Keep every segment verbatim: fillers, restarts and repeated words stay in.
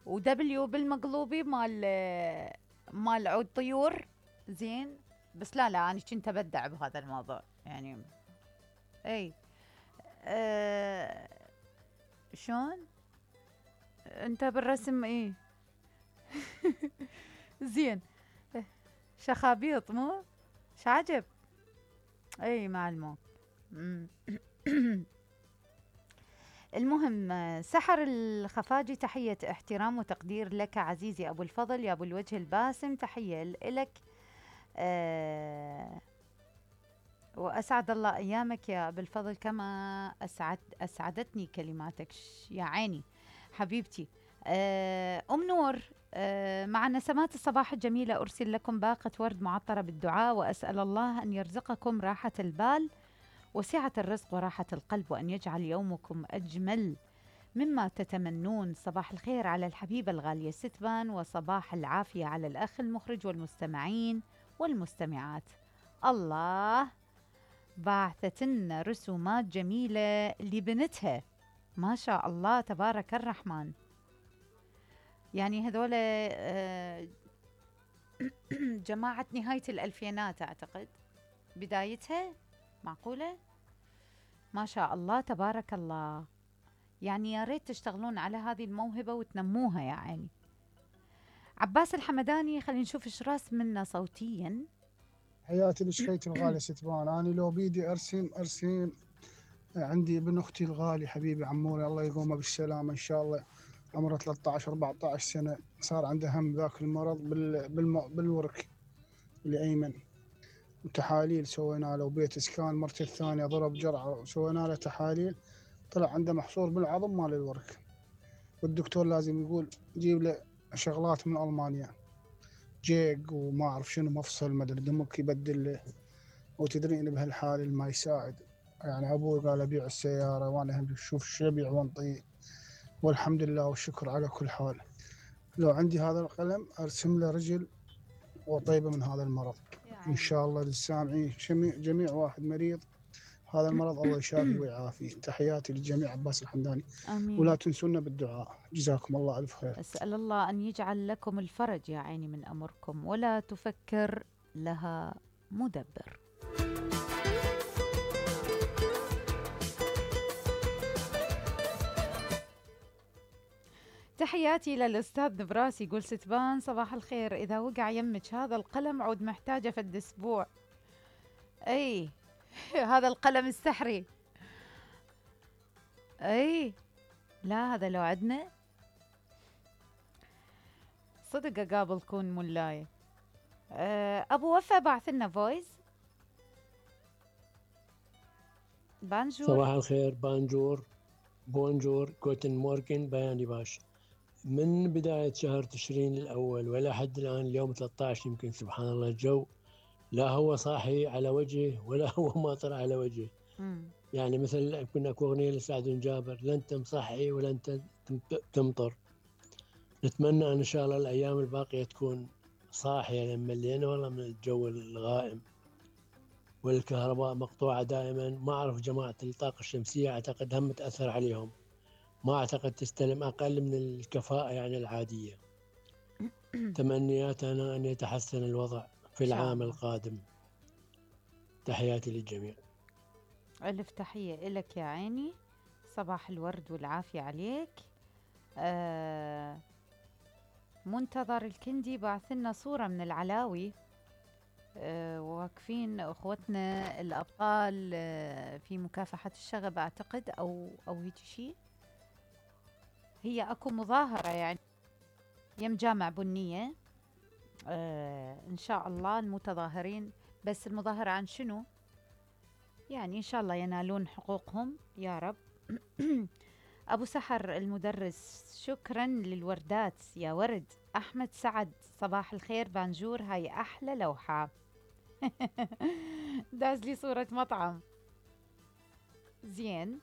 ودبليو بالمقلوبي مال مال عود طيور. زين. بس لا لا انا كنت ابدع بهذا الموضوع يعني. اي. أه شلون انت بالرسم ايه؟ زين. شخابيط مو شعجب. اي معلمو. المهم سحر الخفاجي تحية احترام وتقدير لك عزيزي أبو الفضل يا أبو الوجه الباسم، تحية لك. أه وأسعد الله أيامك يا أبو الفضل كما أسعد أسعدتني كلماتك يا عيني حبيبتي. أه أم نور، أه مع نسمات الصباح الجميلة أرسل لكم باقة ورد معطرة بالدعاء، وأسأل الله أن يرزقكم راحة البال وسعة الرزق وراحة القلب، وأن يجعل يومكم أجمل مما تتمنون. صباح الخير على الحبيبة الغالية ستبان، وصباح العافية على الأخ المخرج والمستمعين والمستمعات. الله، بعثت لنا رسومات جميلة لبنتها ما شاء الله تبارك الرحمن. يعني هذول آه، جماعة نهاية الألفينات أعتقد بدايتها، معقولة؟ ما شاء الله تبارك الله. يعني يا ريت تشتغلون على هذه الموهبة وتنموها يا عيني. عباس الحمداني، خلينا نشوف ايش راس منا صوتيا. حياتي لشخيتي الغالي ستبان، أنا لو بيدي أرسم أرسم. عندي ابن أختي الغالي حبيبي عموري الله يقومه بالسلامة إن شاء الله، عمره ثلاثة عشر أربعة عشر سنة، صار عنده هم ذاك المرض بال... بالم... بالورك الأيمن، وتحاليل سوينا له، وبيت إسكان مرته الثانية ضرب جرعة وسوينا له تحاليل، طلع عنده محصور بالعظم مال الورك، والدكتور لازم يقول جيب له شغلات من ألمانيا، جيك وما أعرف شنو مفصل مدري دمك يبدل له. وتدرين بهالحال ما يساعد، يعني أبوي قال أبيع السيارة وأنا هم شوف شو أبيع وانطي، والحمد لله والشكر على كل حال. لو عندي هذا القلم أرسم له رجل وطيبة من هذا المرض إن شاء الله للسامعين، جميع, جميع واحد مريض هذا المرض الله يشافي ويعافي. تحياتي للجميع عباس الحمداني. آمين. ولا تنسونا بالدعاء، جزاكم الله ألف خير. أسأل الله أن يجعل لكم الفرج يا عيني من أمركم، ولا تفكر لها مدبر. تحياتي للأستاذ نبراس، يقول ستبان صباح الخير، إذا وقع يمك هذا القلم عود محتاجة فد أسبوع. أي هذا القلم السحري. أي لا هذا لو عدنا صدق أقابل كون مولاي. أه أبو وفا بعث لنا فويس. بانجور. صباح الخير، بانجور بونجور كوتن موركن بياني باش. من بداية شهر تشرين الأول ولا حد الآن اليوم ثلاثة عشر يمكن، سبحان الله الجو لا هو صاحي على وجهه ولا هو ماطر على وجهه. مم. يعني مثل كنا أغنية لسعد جابر، لا أنت مصحي ولا أنت تمطر. نتمنى أن إن شاء الله الأيام الباقية تكون صاحية، لما ملينا والله من الجو الغائم، والكهرباء مقطوعة دائما. ما أعرف جماعة الطاقة الشمسية أعتقد هم تأثر عليهم، ما أعتقد تستلم أقل من الكفاءة يعني العادية. تمنياتنا أن يتحسن الوضع في العام القادم. تحياتي للجميع. ألف تحية إلك يا عيني، صباح الورد والعافية عليك. آه منتظر الكندي بعث لنا صورة من العلاوي، آه واقفين أخوتنا الأبطال آه في مكافحة الشغب أعتقد، أو أو هيك شيء. هي أكو مظاهرة يعني يم جامع بنية، آه إن شاء الله المتظاهرين، بس المظاهرة عن شنو؟ يعني إن شاء الله ينالون حقوقهم يا رب. أبو سحر المدرس، شكرا للوردات يا ورد. أحمد سعد صباح الخير بانجور، هاي أحلى لوحة. داز لي صورة مطعم. زين.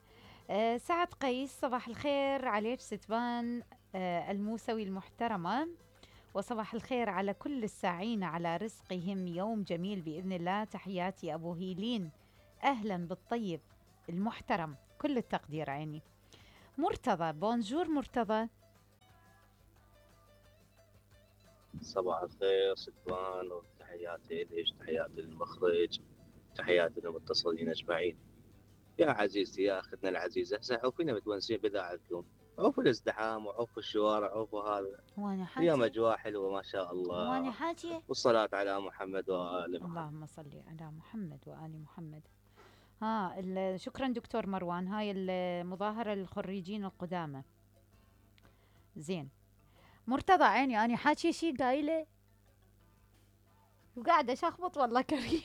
آه سعد قيس صباح الخير عليك ستبان آه الموسوي المحترمة، وصباح الخير على كل الساعين على رزقهم يوم جميل بإذن الله. تحياتي أبو هيلين، أهلا بالطيب المحترم، كل التقدير عيني. مرتضى، بونجور مرتضى. صباح الخير ستوان، وتحياتي ليش، تحياتي للمخرج، تحياتي للمتصلين اجمعين. يا عزيزتي يا اختنا العزيزه، هسه عوفينا متونسين باذاعتكم، عوفوا الازدحام وعوفوا الشوارع عوفوا هذا. وانا اليوم حاجة اجواء حلوه ما شاء وانا الله. حاجة والصلاه على محمد وال محمد. اللهم صل على محمد وآل محمد. ها ال- شكرا دكتور مروان. هاي المظاهرة للخريجين القدامى. زين. مرتضى عيني أنا حاكي شي قايلة وقاعدة شخبط والله كريم.